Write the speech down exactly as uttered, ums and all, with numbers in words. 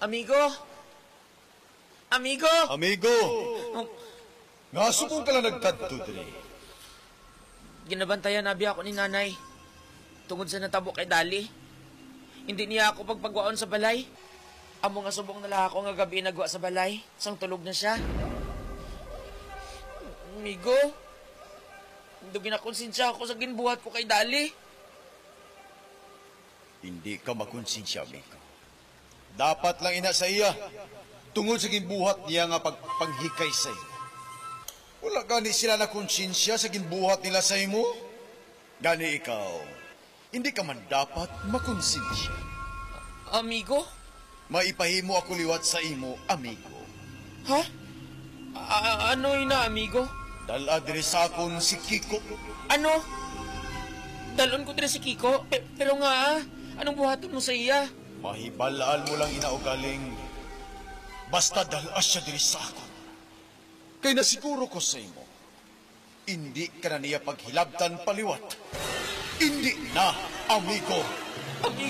Amigo! Amigo! Amigo! Oh. Nga subong ka lang nagkadto diri? Ginabantayan abi ako ni Nanay tungod sa natabo kay Dali. Hindi niya ako pagpagwaon sa balay. Amo nga subong na lang ako nga gabi nagwa sa balay, sang tulog na siya. Amigo, hindi ginakonsensya ako sa ginbuhat ko kay Dali. Hindi ka makonsensya, amigo. Dapat lang ina sa iya, tungod sa ginbuhat niya nga pagpanghikay sa imo. Wala gani sila nakonsensya sa ginbuhat nila sa imo? Gani ikaw, hindi ka man dapat makonsensya. Amigo? Maipahimo ako liwat sa imo, amigo. Ha? A-, ano ina, amigo? Dala diri sa akon si Kiko. Ano? Dalon ko diri si Kiko? Pe-, pero nga, ah, anong buhaton mo sa iya? Mahibal-an mo lang ina ugaling basta dala siya diri sa akon. Kay nasiguro ko sa imo, indi ka na niya paghilabtan paliwat. Indi na, amigo. Amigo?